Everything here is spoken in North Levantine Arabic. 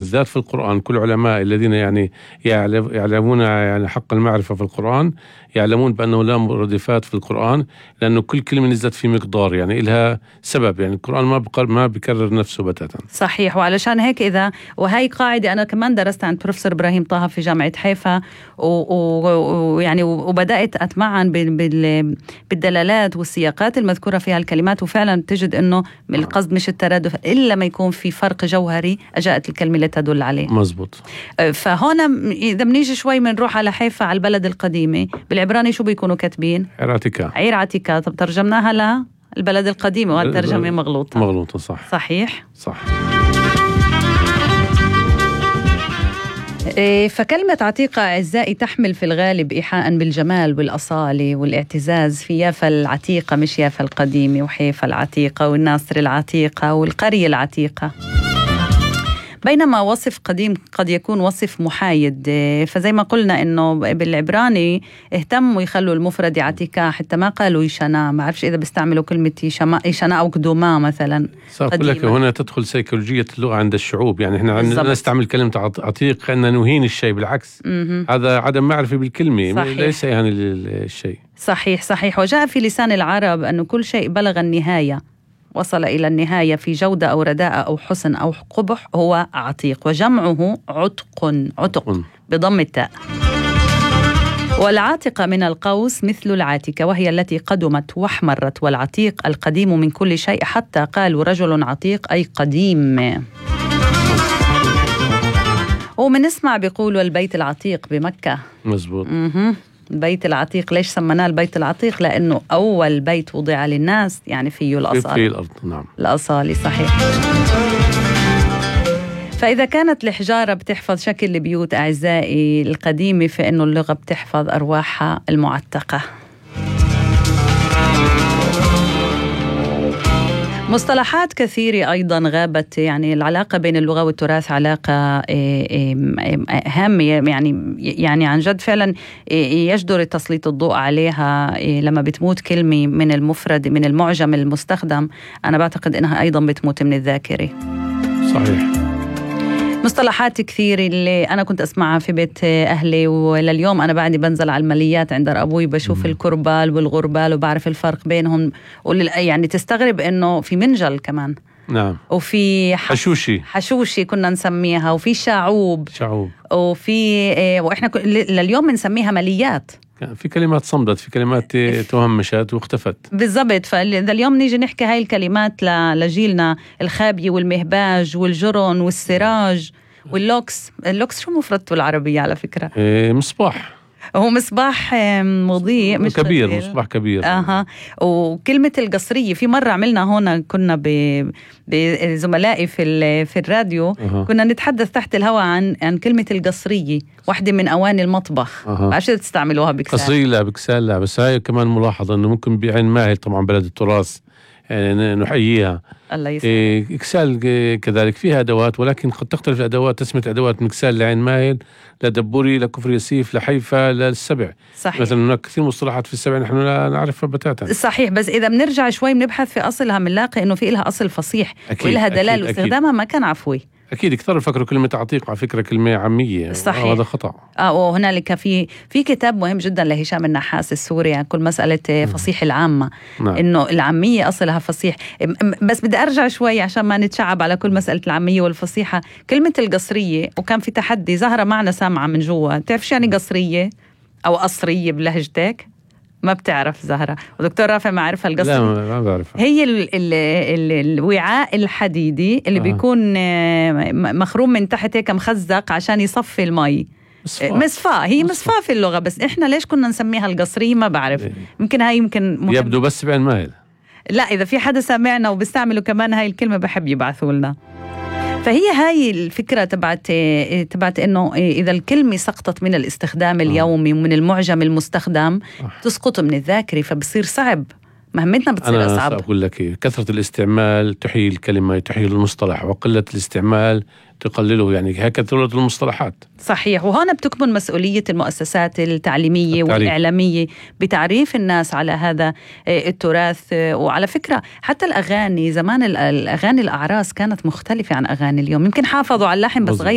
بالذات في القرآن. كل علماء الذين يعني يعلمون يعني حق المعرفة في القرآن يعلمون بأنه لا مرادفات في القرآن، لأنه كل كلمة نزلت في مقدار، يعني إلها سبب. يعني القرآن ما بيكرر نفسه بتاتا. صحيح. وعلشان هيك وهي قاعدة أنا كمان درست عند بروفيسور إبراهيم طه في جامعة حيفا، ويعني وبدأت أتمعن بالدلالات والسياقات المذكورة فيها الكلمات، وفعلا تجد أنه القصد مش الترادف إلا ما يكون في فرق جوهري أجاءت الكلمة لتدل عليه. مزبوط. فهنا إذا بنيجي شوي بنروح على حيفا، على البلد القديمة، بالعبراني شو بيكونوا كاتبين؟ عير عتيكا. طب ترجمناها للبلد القديمة، والترجمة مغلوطة. صحيح. فكلمة عتيقة أعزائي تحمل في الغالب إيحاء بالجمال والأصالة والاعتزاز في يافا العتيقة، مش يافا القديمة، وحيفا العتيقة والناصر العتيقة والقرية العتيقة. بينما وصف قديم قد يكون وصف محايد. فزي ما قلنا إنه بالعبراني اهتموا يخلوا المفرد عتيقة، حتى ما قالوا يشنا. ما عرفش إذا بيستعملوا كلمة يشنا أو قدوما مثلا. أقول لك هنا تدخل سيكولوجية اللغة عند الشعوب. يعني إحنا نستعمل كلمة عتيق كأننا نهين الشيء، بالعكس. هذا عدم معرفة بالكلمة. صحيح. ليس يعني الشيء. صحيح. وجاء في لسان العرب أنه كل شيء بلغ النهاية، وصل إلى النهاية في جودة أو رداء أو حسن أو قبح، هو عتيق. وجمعه عتق بضم التاء. والعاتقة من القوس مثل العاتكة، وهي التي قدمت واحمرت. والعتيق القديم من كل شيء، حتى قالوا رجل عتيق أي قديم. ومنسمع بيقولوا البيت العتيق بمكة. مزبوط. البيت العتيق. ليش سمناه البيت العتيق؟ لأنه أول بيت وضع للناس، يعني فيه الأصالة في الأرض. نعم، الأصالة. صحيح. فإذا كانت الحجارة بتحفظ شكل البيوت أعزائي القديمة، فإنه اللغة بتحفظ أرواحها المعتقة. مصطلحات كثيرة أيضا غابت. يعني العلاقة بين اللغة والتراث علاقة هامة، يعني عن جد فعلا يجدر تسليط الضوء عليها. لما بتموت كلمة من المفرد من المعجم المستخدم، أنا بعتقد أنها أيضا بتموت من الذاكرة. صحيح. مصطلحات كثير اللي أنا كنت أسمعها في بيت أهلي، ولليوم أنا بعدي بنزل على الماليات عند أبوي بشوف الكربال والغربال وبعرف الفرق بينهم. يعني تستغرب إنه في منجل كمان. نعم. وفي حشوشي كنا نسميها، وفي شعوب. وفي وإحنا لليوم بنسميها ماليات. في كلمات صمدت، في كلمات تهمشت واختفت. بالضبط. فاليوم نيجي نحكي هاي الكلمات لجيلنا، الخابية والمهباج والجرن والسراج واللوكس. اللوكس شو مفردته العربية على فكرة؟ مصباح. هو مصباح مضيء، مش كبير، مصباح كبير. وكلمة القصرية، في مرة عملنا هون كنا بزملائي في الراديو، كنا نتحدث تحت الهواء عن كلمة القصرية، واحدة من أواني المطبخ. عشان تستعملوها بكسال؟ قصرية لا، بكسال لا. بس هاي كمان ملاحظة أنه ممكن بعين ماهل، طبعا بلد التراث يعني نحييها. الله يسلمك. إكسال كذلك فيها أدوات، ولكن قد تختلف الأدوات. تسمية أدوات من إكسال لعين ماهل، لدبوري، لكفر يسيف، لحيفا، للسبع. صحيح. مثلا هناك كثير مصطلحات في السبع نحن لا نعرفها بتاتا. صحيح. بس إذا بنرجع شوي بنبحث في أصلها بنلاقي إنه في لها أصل فصيح ولها دلال، واستخدامها ما كان عفوي. أكيد كثير يفكروا كلمة عتيق على فكرة كلمة عامية. صحيح. وهذا خطأ. وهنالك في كتاب مهم جدا لهشام النحاس السوري عن كل مسألة فصيح العامة. نعم. إنه العامية أصلها فصيح. بس بدي أرجع شوي عشان ما نتشعب على كل مسألة العامية والفصيحة. كلمة القصرية، وكان في تحدي، زهرة معنا سامعة من جوا، تعرف يعني قصرية أو قصرية بلهجتك؟ ما بتعرف زهرة، ودكتور رافع ما عارفها القصرية. لا ما بعرفها. هي الوعاء الحديدي اللي بيكون مخروم من تحت هيك مخزق عشان يصفي المي. مصفاة. هي مصفاة في اللغة، بس إحنا ليش كنا نسميها القصرية ما بعرف. يمكن هاي يبدو بس بعين ماهل. لا، إذا في حدا سامعنا وبيستعملوا كمان هاي الكلمة بحب يبعثوا لنا. فهي هاي الفكرة تبعت إنه إذا الكلمة سقطت من الاستخدام اليومي ومن المعجم المستخدم تسقط من الذاكرة، فبصير صعب. مهمتنا بتصير أصعب. أنا أقول لك كثرة الاستعمال تحيي الكلمة، تحيي المصطلح، وقلة الاستعمال تقلله. يعني هكذا المصطلحات. صحيح. وهنا بتكمن مسؤولية المؤسسات التعليمية والإعلامية بتعريف الناس على هذا التراث. وعلى فكرة حتى الأغاني زمان، الأغاني الأعراس كانت مختلفة عن أغاني اليوم. يمكن حافظوا على اللحن بس غير